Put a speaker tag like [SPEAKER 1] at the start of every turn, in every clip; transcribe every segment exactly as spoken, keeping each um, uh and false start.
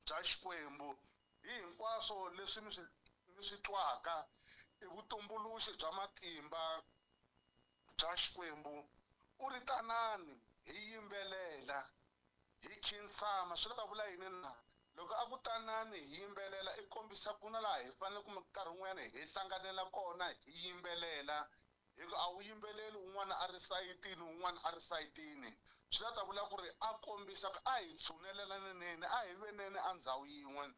[SPEAKER 1] bya Xikwembu. Hi hinkwaswo leswi mi swi mi swi twaka i vutumbuluxi bya matimba bya Xikwembu. U ri tanani hi yimbelela hi khinsama. Swi ta vula yini na? Loko a ku tanani hi yimbelela i kombisa ku na laha hi fanele kumbe nkarhi wun'wanyana hi hlanganela kona hi yimbelela, hi ku a wu yimbeleli un'wana a ri sayitini un'wana a ri sayitini. Swi la ta vula ku ri a kombisa ku a hi tshunelelaneni, a hi veneni a ndhawu yin'we.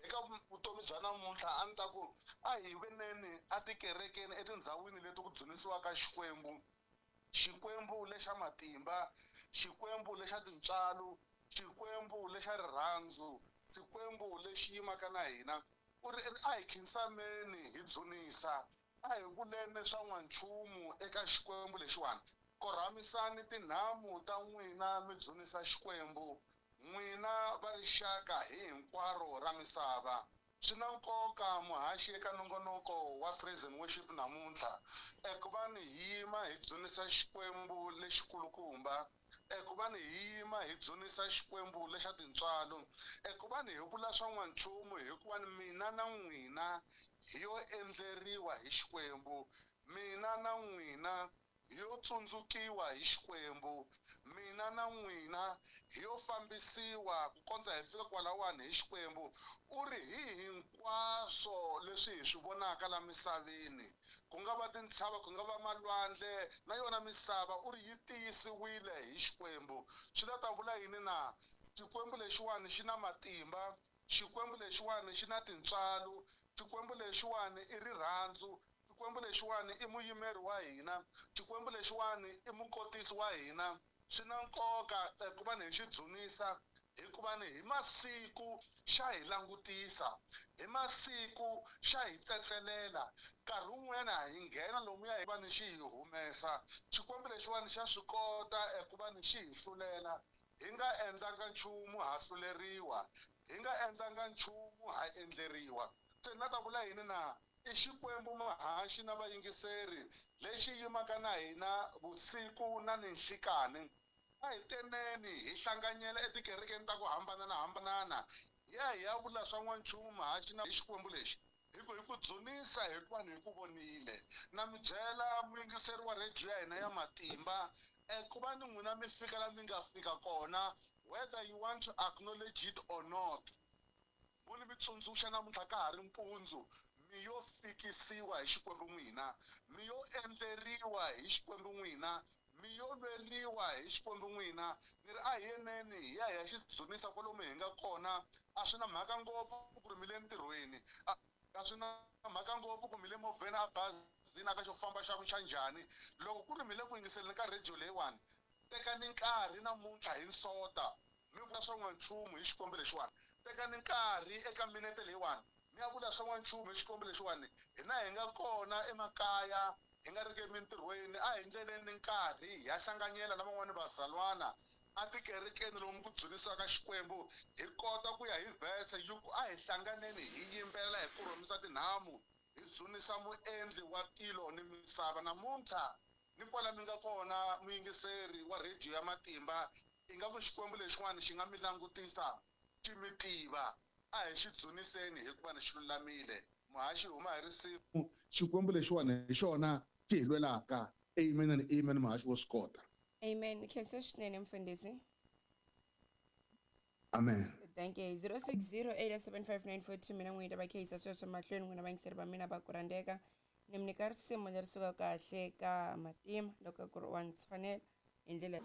[SPEAKER 1] Eka vutomi bya namuntlha a ni ta ku a hi veneni etikerekeni etindhawini leti ku dzunisiwaka Xikwembu, Xikwembu lexa matimba, Xikwembu lexa tintswalo, Xikwembu lexa rirhandzu, Xikwembu lexi yimaka na hina. U ri a hi khinsameni hi dzunisa, a hi vuleni swa n'wanchumu eka Xikwembu lexiwani. Korhamisani tinhamu ta n'wina mi dzunisa Xikwembu, n'wina va rixaka hi hinkwaro ra misava. Swi na nkoka muhaxi eka nongonoko wa praise and worship namuntlha eku va ni hi yima hi dzunisa Xikwembu lexikulukumba, eku va ni hi yima hi dzunisa Xikwembu lexa tintswalo, eku va ni hi vula swa n'wanchumu hikuva ni mina na n'wina hi yo endleriwa hi Xikwembu, mina na n'wina hi yo tsundzukiwa hi Xikwembu, mina na n'wina hi yo fambisiwa ku kondza hi fika kwalawani hi Xikwembu. U ri hi hinkwaswo leswi hi swi vonaka la misaveni, ku nga va tintshava, ku nga va malwandle na yona misava, u ri yi tiyisiwile hi Xikwembu. Swi la ta vula yini na? Xikwembu lexiwani xi na matimba, Xikwembu lexiwani xi na tintswalo, Xikwembu lexiwani i rirhandzu, Xikwembu lexiwani i muyimeri wa hina, Xikwembu lexiwani i mukotisi wa hina. Swi na nkoka ku va ni hi xi dzunisa hikuva ni hi masiku xa hi langutisa, hi masiku xa hi tsetselela. Nkarhi wun'wanyana hi nghena lomuya hi va ni xi hi humesa. Xikwembu lexiwani xa swi kota ku va ni xi hi hlulela. Hi nga endlanga nchumu ha hluleriwa, hi nga endlanga nchumu ha endleriwa. Se na ta vula yini na? I Xikwembu muhaxi na vayingiseri lexi yimaka na hina vusiku na ninhlikani. A hi teneni hi hlanganyela etikerekeni ta ku hambanahambana, hi ya hi ya vula swa n'wanchumu muhaxi na hi Xikwembu lexi, hi ku hi ku dzunisa hikuva ni hi ku vonile. Na mi byela muyingiseri wa rediyo ya hina ya matimba, ku va ni n'wina mi fika la mi nga fika kona, whether you want to acknowledge it or not, mo ni mi tsundzuxa namuntlha ka ha ri mpundzu, mi yo fikisiwa hi Xikwembu n'wina, mi yo endleriwa hi Xikwembu n'wina, mi yo lweriwa hi Xikwembu n'wina. Ni ri a hi yeneni hi ya hi ya xi dzunisa kwalomu hi nga kona. A swi na mhaka ngopfu ku ri mi le ntirhweni, a swi na mhaka ngopfu ku mi le movheni, a bazini, a ka xo famba xa xa njhani. Loko ku ri mi le ku yingiseleni ka rediyo leyiwani, tekani nkarhi namuntlha hi nsota mi vula swa n'wanchumu hi Xikwembu lexiwani. Tekani nkarhi eka minete leyiwani mi ya vula swa n'wanchumu hi Xikwembu lexiwani. Hina hi nga kona emakaya, hi nga ri emintirhweni, a hi ndleleni nkarhi hi ya hlanganyela na van'wani vazalwana atikerekeni lomu ku dzunisaka Xikwembu, hi kota ku ya hi verse yi ku a hi hlanganeni hi yimbelela hi koromisa tinhamu hi dzunisa muendli wa tilo ni misava. Namuntlha ni kwala mi nga kona muyingiseri wa rediyo ya matimba, ingaku Xikwembu lexiwani xi nga mi langutisa xi mi tiva. A hi xi dzuniseni hikuva ni xi lulamile. Muhaxi huma hi risimu, Xikwembu lexiwani hi xona xi hi lwelaka. Amen and amen. Muhaxi wo swi kota.
[SPEAKER 2] Amen. Khensa swinene mfundhisi.
[SPEAKER 1] Amen.
[SPEAKER 2] Thank you. zero six zero eight seven five nine four two. Mina n'wina va khayisa sweswo mahlweni n'wina vayingiseri va mina va ku rhandzeka. Ni mi nyika risimu leri sukaka kahle ka matima loko ku ri wa ni tshwanela hi ndlela.